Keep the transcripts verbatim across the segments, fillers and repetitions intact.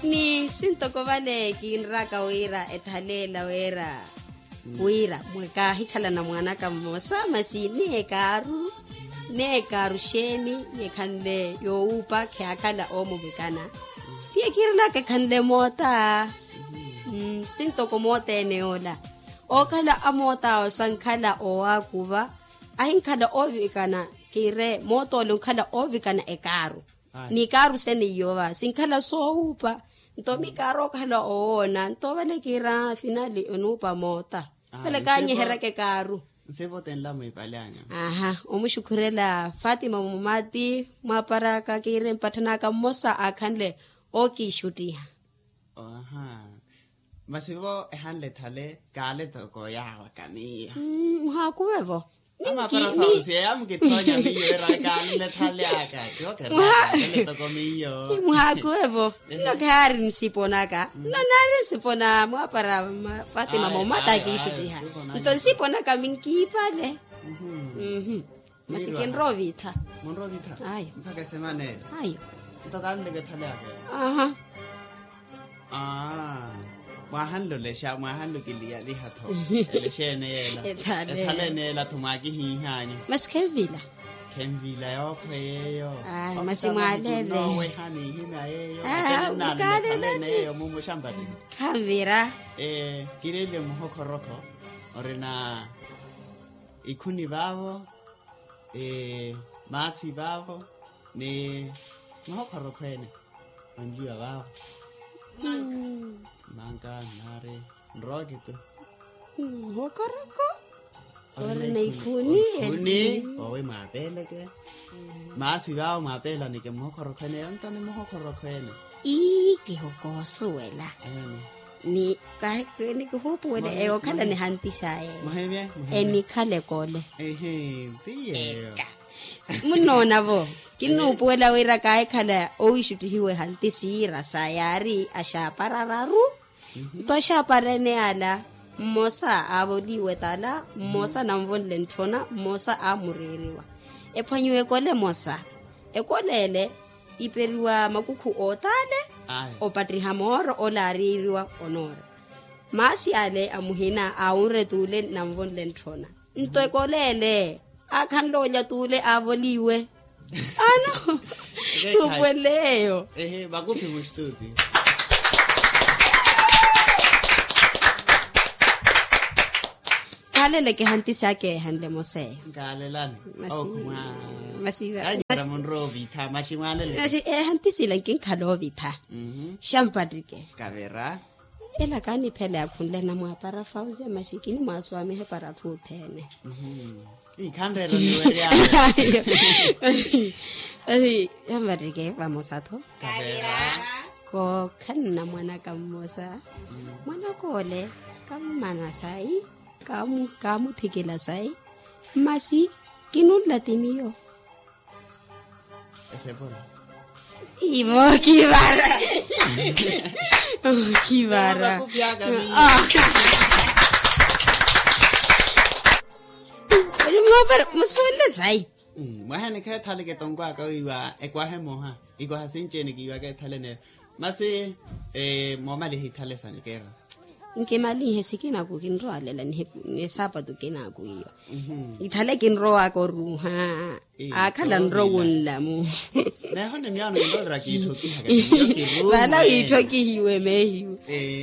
Ni sintoko vale kinraka wira ethaleela wira wira mwekahikhalana mwanaka mmosa masi ni ekaaru ni ekaaru xeeni? Yekhanle yowuupa kheyakhala omuvikana. Tiye kirilaka ekhanle moota. Sintoko moota ene yoola okhala amoota awo sankhala owakuva. Ahinkhala ovikana kire moota ole onkhala ovikana ekaaru. Ni kaaru sene iyova sinkhala soowuupa. Nto mi kaaru okhala owoona nto vale kiira finali onuupa moota. Vale kanyeheryaka ekaaru. Nsivote nla mwiipale anya. Aha. Omuxukhurela fatima mumati mwaparaka kiire mpatthanaka mmosa aakhanle ookiixuttiha. Aha. Masi vo ehanle ethale kaale toko yaawaka miyo. Muhaakuve vo. Amapara fausi eya mukithonya miyo era kaale ethale aka. Toko miyo. Muhaakuve vo. Nno khaari nsiponaka nno naari nsipona mwapara. Fatima momata akiixuttiha. Nto nsiponaka minkiipale. Masi kinrowa oviitha. Munrowa oviitha. Ayo. Mpakha esemana eyo. Ayo. Nto kaanleke ethale aka. Aha. Aa. Mwahanle olexa mwahanle okiliyaliha tho. Elexa ene yeela. Ethale ene yeela tho mwaakihiihanyu. Masi khenvila. Khenvila yookhwe yeeyo. Masi mwaalele. Nowehani ihina yeeyo. Mukaalele ene yeeyo mumuxampati. Khanvira. Kireele muhokhoropho. Orina ikhuni vaavo. Maasi vaavo ni muhokhorokho ene. Onliwa vaavo. Manka nari nrowa kitu. Muhokhorokho. Ori na ikhuni. Owe mwaapeeleke. Maasi vaavo mwaapeelanike muhokhorokho ene yantani muhokhorokho ene. Ii kihokoosuwela. Ni kahi kini kihuupuwele eyo okhala nihantisa eyo. Enikhala ekole. Munnoona vo kinuupuwela wira kaahikhala owiixuttihiwa ehantisi yiira sa yaari axaapara araru. Nto axaapara ene ala mmosa aavoliwa etala mmosa ananvonle ntthona mmosa aamuriiriwa. Ephwanyiwa ekole emosa ekole ele iperiwa makukhu ootaale. Opattiha mooro ole aariiriwa onoora. Maasi ale a muhina aawunre tuule nanvonle ntthona. Nto ekole ele aakhanle olya tuule aavoliwe. Ano. Tuupuwele eyo. Ehe makuphi mustuti. Kaaleleke ehantisi aka ehanle mose. Nkaalelani. Masi masi masi ehantisi ila nkinkhala ovitha. Xampatrike kavera. Ela kaaniphela yakhunle namwaapara fausia masi kinimwaaswamiha para atthu othene. Ikhanreero niwerya. Masi xampatrike vamosa tho. Kavera. Kookhanna mwanaka mmosa. Mwanaka ole kammana sayi. Kaamuthikela sayi. Masi kinunla ti miyo. Esepona. Ivo kivara. Kivara. Musuwenle sayi. Mwahenikha ethaleke tonkwaka wiiwa ekwaha emoha. Ikwaha sinci-ene kiiwaka ethale neyo. Masi moomaliha ithale sa nikera. Nkimalinhe sikinaku kinrowalela ni saapatu kinaku iyo. Ithale kinrowaka oruuha. Aakhala nrowunlamu. Neho ni myaano kinroolera kiitthokihaka. Vala wiitthokihiwe mehiwe.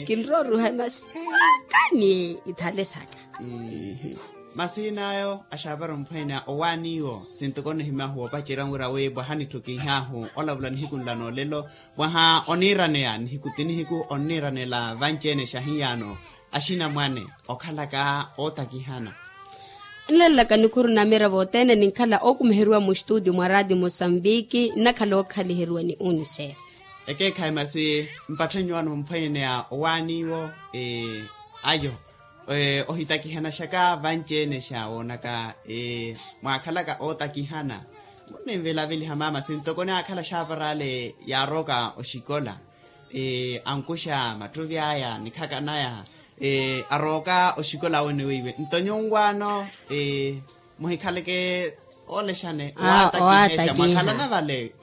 Kinrowa oruuha masi akani ithale saka. Masi n'ayo axaapara omphwene owaaniwo sintoko nihimya huwopacerya wira wi bwaha nitthukihaahu olavula nihiku nla noolelo. Mwaha oniiraneya nihiku ti nihiku onniiranela vanci-ene xahiyaano axinamwane okhalaka ootakihana. Nlalelaka nikhuru na mira vothene ninkhala okumiheriwa mustutio mwa ratio mosambiki nnakhala okhaliheriwa ni unicef. Ekeekhayi masi mpatthenyo wano mphwene ya owaaniwo ayo. Ohitakihanashaka vanci-ene xa woonaka mwaakhalaka ootakihana. Munninvilaviliha mama sintoko ni aakhala xaapara ale yaarooka oxikola ankuxa mattuvi aya nikhaka naya arooka oxikola awe ni weiwe nto nyunwaano muhikhaleke olexane owatakihexa mwakhalana vale.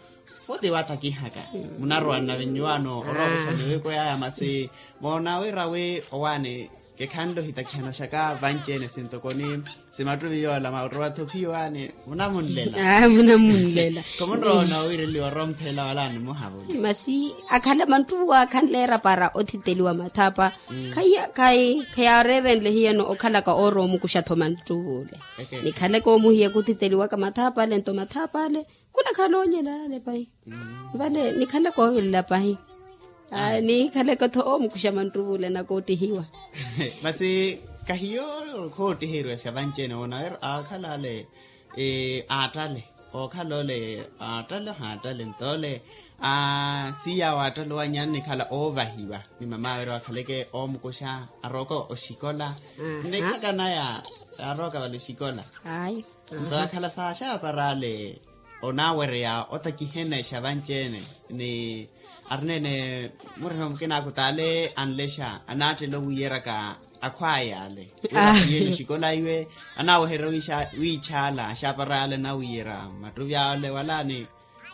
Oti watakihaka munarowa nnavinyu wano orowa oxaniwiko yaya masi moona wira wi owaani kekhanle ohitakihana xaka vanci-ene sintokoni simattuvi yoola marowa-tho phiyo waani munamunlela. Munamunlela. Khomunrowa onoowiireliwa oromphela wala nimuhavuli. Masi akhala manttuvi waakhanleera para othiteliwa mathapa. Khaya khayi khayaareerenle hiyano okhalaka oorowa omukuxa-tho manttuvi ole. Nikhaleke omuhiya kuthiteliwaka mathapa ale nto mathapa ale khunakhala olyela ale pahi. Vale nikhaleke ovilela pahi. Nikhaleke-tho omukuxa manttuvi ole anakootihiwa. Masi kahiyo khoottiheriwa xa vanci-ene woona wira aakhala ale aattale ookhala ole aattale ohaattale nto ole siiya waattale owanyani nikhala oovahiwa ni mamawe ira wakhaleke oomukuxa arooka oxikola. Nnekhaka naya arooka vale oxikola. Nto akhala saaxaapara ale onaawereya otakihene exa vanci-ene ni arineene murima mukina akutaale anlexa anaattela owiiyeraka akhwaya ale wira ahiye ni oxikola iwe anaaweherya wiixaala axaapara ale anawiiyerya mattuvi ale wala ni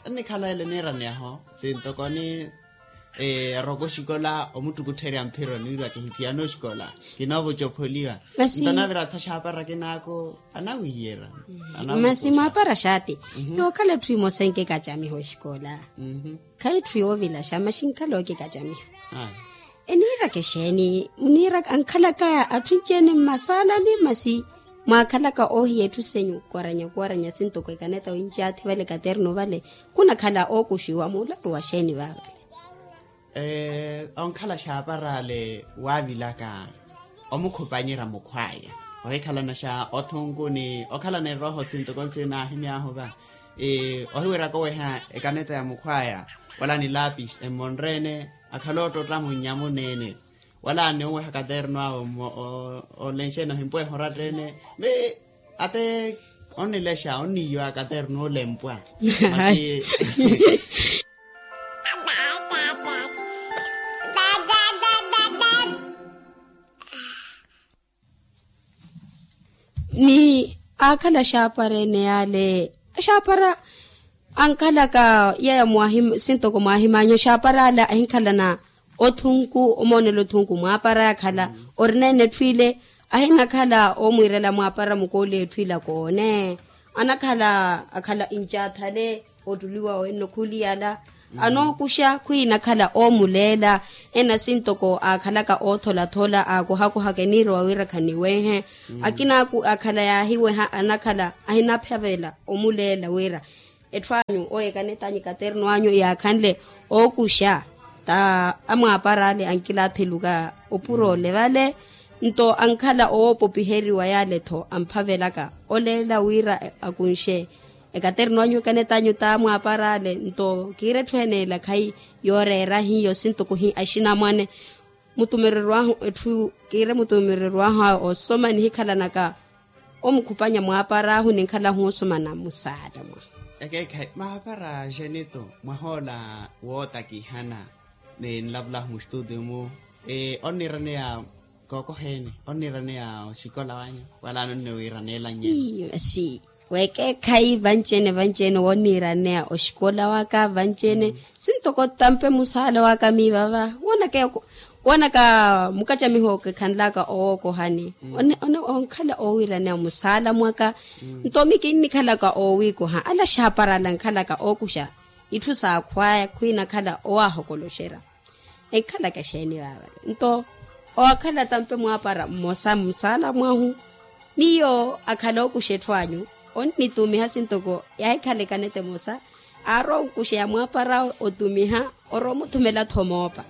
annikhala ele niiraneyaho sintokoni arooka oxikola omuttukuttherya mphiro niwira kihiphiyana oxikola kinoovuca opholiwa. Nto anavira-tho axaapara akinaaku anawiiyerya. Masi mwaapara xaati yookhala etthu emosa enkikacamiha oxikola. Khayi etthu yoovilaxa maxi nkhala ookikacamiha. Eniiraka exeeni muniiraka ankhalakaya atthu enci-ene mmasaalani masi mwaakhalaka oohiya etthu senyu kuwaranya kuwaranya sintoko ekaneta winci athi vale katerno vale khunakhala ookuxiwa muularu wa xeeni vaavale. Onkhala xaaparaale waavilaka omukhupanyerya mukhwaya ohikhalanaxa othunku ni okhalana erooho sintoko nsi naahimy'ahu va ohiweraka oweha ekaneta ya mukhwaya wala ni lapis emmonre-ene akhala oottotta munnya muneene wala ni oweha katerno awe olenxene ohimpweha oratta-ene. Ate onnilexa onniiwa katerno olempwa masi ni aakhala axaapara ene yaale axaapara ankhalaka yaya mwahima sintoko mwahimanya axaapara ale ahinkhalana othunku omoonela othunku mwaapara akhala orineene etthu ile ahinakhala omwiirela mwaapara mukooli etthu ila koone anakhala akhala incathale ottuliwa wenno khuliyala anookuxa khwiinakhala oomuleela ena sintoko aakhalaka ootholaathola aakohakohaka eniirowa wira khaniwehe akina akhala yaahiweha anakhala ahinaphavela omuleela wira etthu anyu oyekaneta anyu ekaterno anyu yaakhanle ookuxa ta amwaapara ale ankilaathiluka opura ole vale nto ankhala owoopopiheriwa yaale-tho amphavelaka oleela wira akunxe ekaterno anyu ekaneta anyu ta mwaapara ale nto kiira etthu ene ela khayi yooreera hiyo sintoko hi axinamwane mutumereryo ahu etthu kiire mutumereryo ahu awe osoma nihikhalanaka omukhupanya mwaapara ahu ninkhalahu osomana musaala mwa ekeekhayi maapara axenito mwahoola wootakihana ni nlavulahu muxituutiyo-mu onniiraneya kookoha-ene onniiraneya oxikola wanyu wala nonniwiiraneela nyeeni weekeekhayi vanci-ene vanci-ene wonniiraneya oxikola waka vanci-ene sintoko tampe musaala waka miivava woonaka mukacamiho kekhanlaka owookohani onkhala oowiiraneya musaala mwaka nto mi kinnikhalaka oowiikoha ala axaapara ala ankhalaka ookuxa itthu saakhwaya khwiinakhala owaahokoloxerya enkhalaka exeeni vaavale nto owaakhala tampe mwaapara mmosa mmusaala mwahu miyo akhala ookuxa etthu anyu onnitumiha sintoko yaahikhala ekaneta emosa aarowa okuxeya mwaapara otumiha orowa omuthumela-tho moopa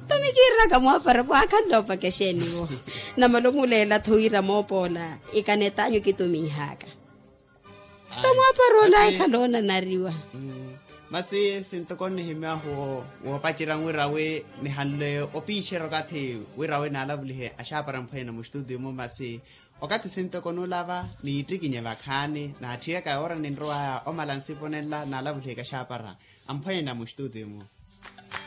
nto mi kiiraka mwaapara mwaakhanle oopaka exeeni-vo namala omuleela-tho wira moopa ola ekaneta anyu kitumihaka nto mwaapara ola ekhala oonanariwa masi sintoko nnihimyahu woopacerya wira wi nihanle opiixerya okathi wira wi naalavulihe axaapara mphwanyana muxituutiyo-mu masi okathi sintoko nuulava niittikinye vakhaani naatthiyaka yoora ninrowaya omala nsipo nenla naalavulihe kaxaapara amphwanyana muxituutiyo-mu